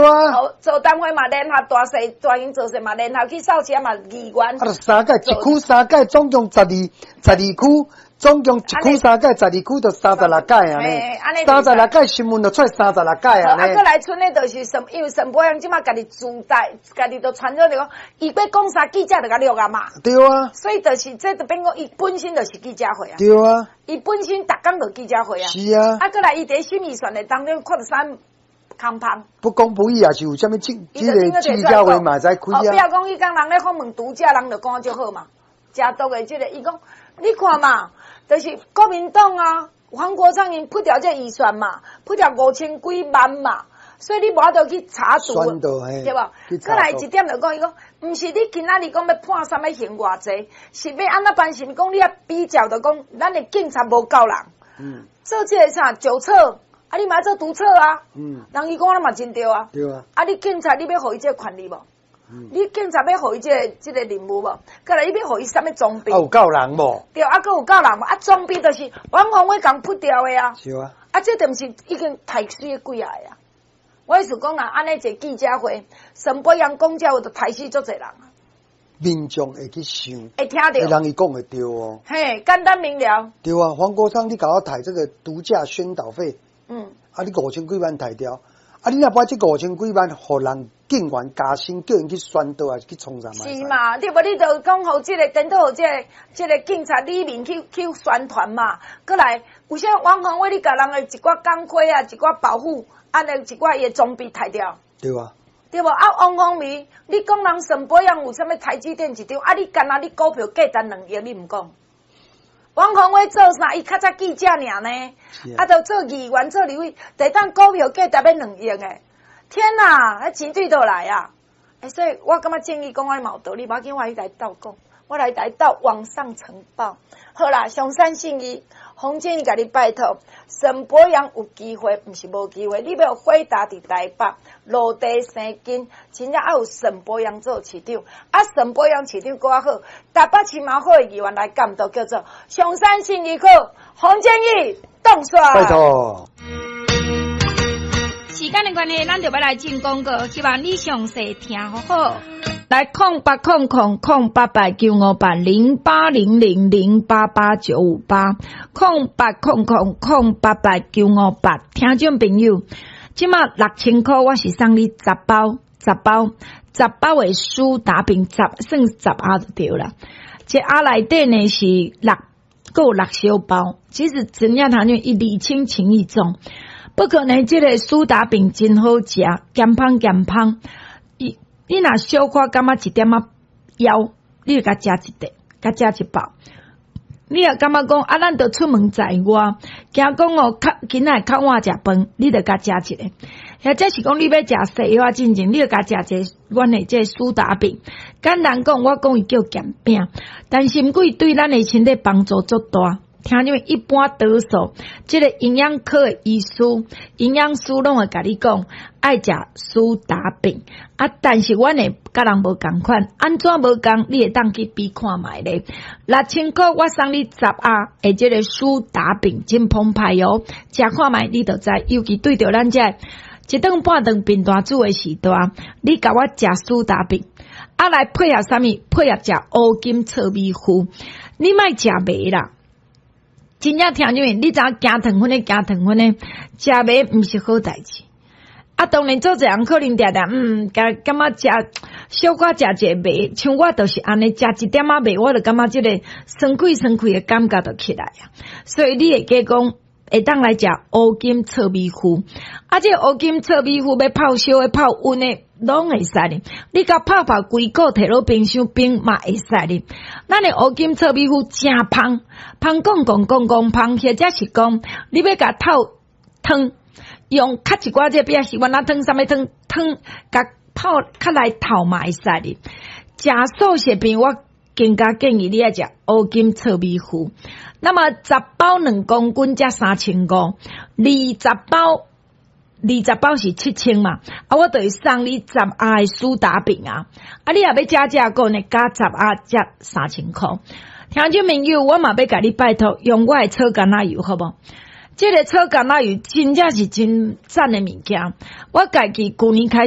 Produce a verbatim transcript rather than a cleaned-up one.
啊。座談會嘛，聯合大細大型造勢嘛，聯合去掃街嘛，議員。啊，就三屆，一區三屆，總共十二十二區，總共一區三屆，十二區就三十六屆啊呢。三十六屆新聞就出三十六屆啊。啊，閣來賰的就是什，因為沈伯洋這馬家己自帶，家己都傳咗就講，伊欲講啥記者就共錄啊嘛。對啊。所以就是這就變講，伊本身就是記者會啊。對啊。伊本身逐工就記者會啊。是啊。啊，閣來伊佇審預算的當中看著啥空芳。不公不義也是有啥物記，這个記者會嘛會使開啊。哦，比如講，彼工人咧訪問獨家，人就講足好嘛。誠毒的這个，伊講，你看嘛，就是國民黨啊，黃國昌𪜶鋪掉這預算嘛，鋪掉五千幾萬嘛，所以你無法度去查處，對無？閣來一點就講，伊講，毋是你今仔日講欲判啥物刑偌濟，是欲按怎辦？是毋講你愛比較就講，咱的警察無夠人，嗯，做這个啥酒測，啊，你嘛做毒測啊，嗯，人伊講咱嘛真對啊，對啊，啊，你警察你欲予伊這個權利無？你警察欲予伊這個這個任務無？閣來你欲予伊啥物裝備？啊，有夠人無？對，啊，閣有夠人無？啊，裝備就是王鴻薇共鋪掉的啊。是啊。啊，這著毋是已經刣死幾仔个啊？我意思講啊，按呢一個記者會，沈伯洋講這話就刣死足濟人啊。民眾會去想，會聽著，人伊講會對哦。嘿，簡單明了。對啊，黃國昌，你共我刣這個獨家宣導費，嗯，啊，你五千幾萬刣掉，啊，你若把這五千幾萬予人警員加薪，叫𪜶去宣導，還是去創啥？是嘛？對無？你就講予這個顛倒予這個這個警察裡面去去宣傳嘛。閣來，有啥王鴻薇，你共人的一寡鋼盔啊，一寡保護，按呢一寡伊的裝備刣掉。對啊。對無？啊，王鴻薇，你講人沈伯洋有啥物台積電一張，啊，你干焦你股票價值兩億，你毋講？王鴻薇做啥？伊較早記者爾呢，啊，就做議員做立委，第當股票價值欲兩億的，天哪！彼錢對佗來啊！欸，所以我感覺正義講的嘛有道理，無要緊，我來鬥講，我來來鬥往上呈報。好啦，上山信義，洪建義共你拜託，沈伯洋有機會，毋是無機會，你欲輝達佇台北落地生根，真正愛有沈伯洋做市長，啊，沈伯洋市長閣較好，台北市嘛好的議員來監督，叫做上山信義區洪建義當選。拜託。時間的關係，咱就欲來進廣告，希望你詳細聽好好。來空八空空空八八九五八零八零零零八八九五八空八空空空八八九五八，聽眾朋友，這馬六千箍，我是送你十包，十包，十包的蘇打餅，十算十盒就對啦。這盒內底呢是六，閣有六小包，其實真正聽講伊禮輕情意重，不過呢，這個蘇打餅真好食，鹹芳鹹芳。伊你若小可感覺一點仔枵，你就共食一塊，共食一包。你若感覺講啊，咱著出門在外，驚講哦，較今仔較晚食飯，你就共食一个。或者是講你欲食西藥進前，你就共食一个阮的這個蘇打餅。簡單講，我講伊叫鹹餅，但是毋過伊對咱的身體幫助足大。聽你們一般多數，這个營養科的醫師、營養師攏會共你講，愛食蘇打餅啊。但是阮的佮人無仝款，按怎無仝？你會當去比看覓咧。六千箍我送你十盒的這个蘇打餅，真澎湃哦！食看覓你就知，尤其對著咱這一頓半頓貧惰主的時代，你共我食蘇打餅，啊來配合啥物？配合食烏金糙米糊，你莫食糜啦。真正聽你，你知影驚糖分的，驚糖分的，食糜毋是好代誌。啊，當然做濟人可能定定，嗯，感感覺食小可食一个糜，像我就是按呢，食一點仔糜，我就感覺這个酸氣酸氣的感覺就起來啊。所以你會記講，會當來食烏金糙米糊，啊，這個烏金糙米糊欲泡燒的、泡溫的，攏會使哩。你共泡泡規個提落冰箱冰嘛會使哩。咱的烏金糙米糊誠芳，芳講講講講芳，或者是講你欲共透湯，用較一寡這比較喜歡啊湯，啥物湯湯，共泡較來透嘛會使哩。食素食品我更加建議你愛食烏金糙米糊。那麼十包兩公斤才三千五，二十包，二十包是七千嘛。啊，我就會送你十盒的蘇打餅啊。啊，你若欲加這個呢，加十盒才三千箍。聽眾朋友，我嘛欲共你拜託，用我的草橄欖油好無？這个草橄欖油真正是真讚的物件。我家己舊年開始。